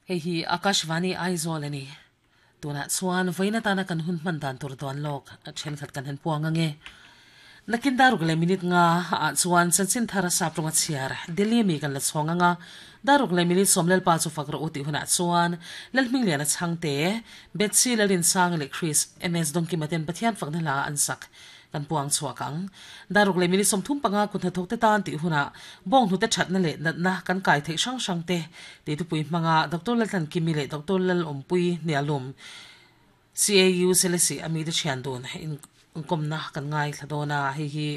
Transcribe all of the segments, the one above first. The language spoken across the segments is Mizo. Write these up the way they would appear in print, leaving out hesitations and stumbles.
Hei hi Akashvani Aizawl a ni. Tunah chuan vawiin atana kan hun hman dan tur dawn lawk thenkhat kan han puang ange. Nakin daruk leh minute nga ah chuan chanchin thar sap rawnga chhiar Delhi mi kan la chhawng anga, daruk leh minute sawm Lalpa chu fak rawh u tih hunah chuan Lalhmingliana Chhangte, Betsy Lalrinsangi leh Chris MS Dawngkima ten Pathian fakna hla an sak kan puang chhuak ang. Daruk leh minute 35 kut hnathawk te tan tih hunah bawnghnute thatna leh natna kan kai theih hrang hrang te tih thupui hmanga Doctor Laltlankimi leh Doctor Lalawmpui Hnialum CAU Selesih a mite thian dun inkawmna kan ngaithla dawn a, hei hi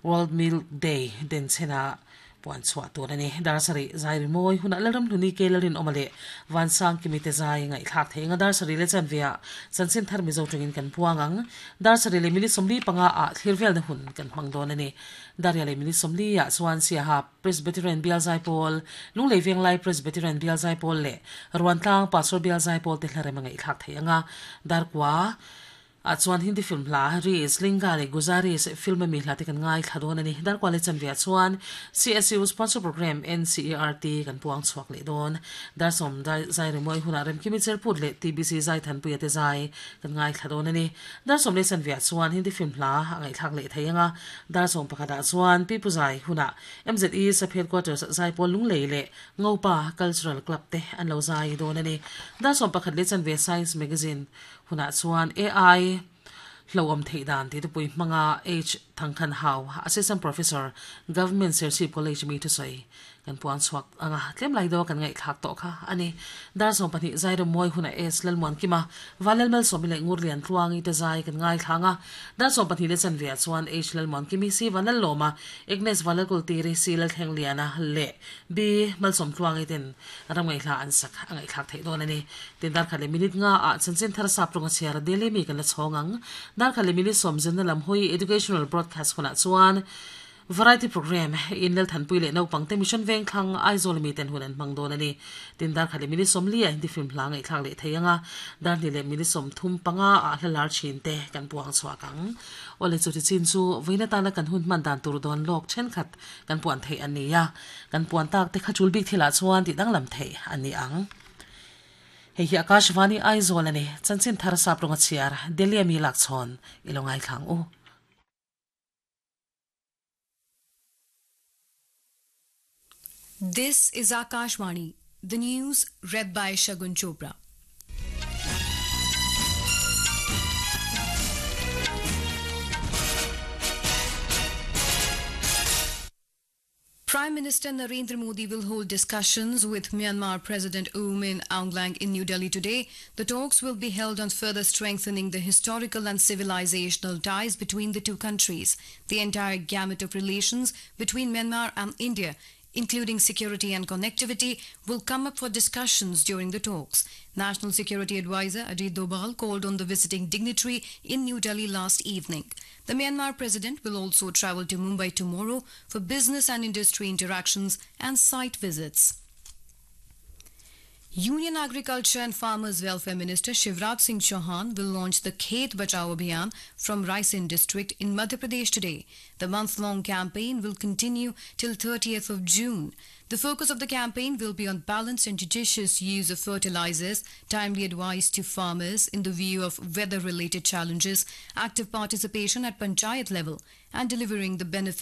World Milk Day denchhena puan chhuah tur a ni. Dar sarih zai rimawi hunah Lalramhluni ke Lalrinawma leh Vansangkimi te zai ngaihthlak theih anga dar sarih leh chanveah chanchin thar Mizo tawngin kan puang ang. Dar sarih leh minute 45 ah thlir velna hun kan hmang dawn a ni. Daria leh minute 40 ah chuan Siaha Presbyterian Bial Zaipawl, Lunglei Venglai Presbyterian Bial Zaipawl leh Ruantlang Pastor Bial Zaipawl te hlarem a ngaihthlak theih ang a, Darkua ah chuan Hindi film hla Rees, Linga leh Guzaris film ami hla te kan ngaithla dawn a ni. Darkua leh chanve ah chuan CSU sponsor program NCERT kan puang chhuak leh dawn. Dar sawm zai rimawi hunah Remkimi Cherput leh TBC Zaithanpuia te zai kan ngaithla dawn a ni. Dar sawm leh chanve ah chuan Hindi film hla a ngaihthlak leh thei ang a, dar sawm pakhat ah chuan Pi Pu Zai hunah MZE Sub Headquarters Zaipawl Lunglei leh Ngopa Cultural Club te an lo zai dawn a ni. Dar 11 leh chanve Science Magazine hunah chuan AI hlauhawm theih dan tih thupui hmanga H Thangkhan Hau, Assistant Professor, Government Serchhip College mi thusawi Kan puang chhuak ang a, tlem lai deuha kan ngaihthlak tawh kha a ni. Dar 12 Zairam mawi hunah S Lalmuankima, Vanlalmalsawmi leh Ngurlian Tluangi te zai kan ngaithla ang a. Dar 12 leh chanve ah chuan H Lalmuankimi, C Vanlallawma, Agnes Vanlalkultiri, C Lalthlengliana leh B Malsawm Tluangi ten ram ngaihhla an sak a ngaihthlak theih dawn a ni. Tin dar khat leh minute nga ah chanchin thar sap tawnga chhiar Delhi mi kan la chhawng ang. Dar khat leh minute sawm zinna lam hawi Educational Broadcast hunah chuan Variety Programme in Lalthanpui leh naupangte Mission Vengthlang Aizawl mi ten hun an hmang dawn a ni. Tin dar khat leh minute 40 ah Hindi film hla ngaihthlak leh thei ang a, dar hnih leh minute 35 ah hla lar thin te kan puang chhuak ang. Awle chuti chin chu vawiin atana kan hun hman dan tur dawn lawk thenkhat kan puan theih a ni a, kan puan tak te kha chul bik thilah chuan tih danglam theih a ni ang. Hei hi Akashvani Aizawl a ni, chanchin thar sap rawnga chhiar Delhi ami lakchhawn i lo ngaithla ang u. This is Akashvani, the news read by Shagun Chopra. Prime Minister Narendra Modi will hold discussions with Myanmar President U Min Aung Hlaing in New Delhi today. The talks will be held on further strengthening the historical and civilizational ties between the two countries. The entire gamut of relations between Myanmar and India, including security and connectivity, will come up for discussions during the talks. National Security Advisor Ajit Doval called on the visiting dignitary in New Delhi last evening. The Myanmar president will also travel to Mumbai tomorrow for business and industry interactions and site visits. Union Agriculture and Farmers Welfare Minister Shivraj Singh Chauhan will launch the Khet Bachao Abhiyan from Raisen district in Madhya Pradesh today. The month-long campaign will continue till 30th of June. The focus of the campaign will be on balanced and judicious use of fertilizers, timely advice to farmers in the view of weather-related challenges, active participation at panchayat level, and delivering the benefits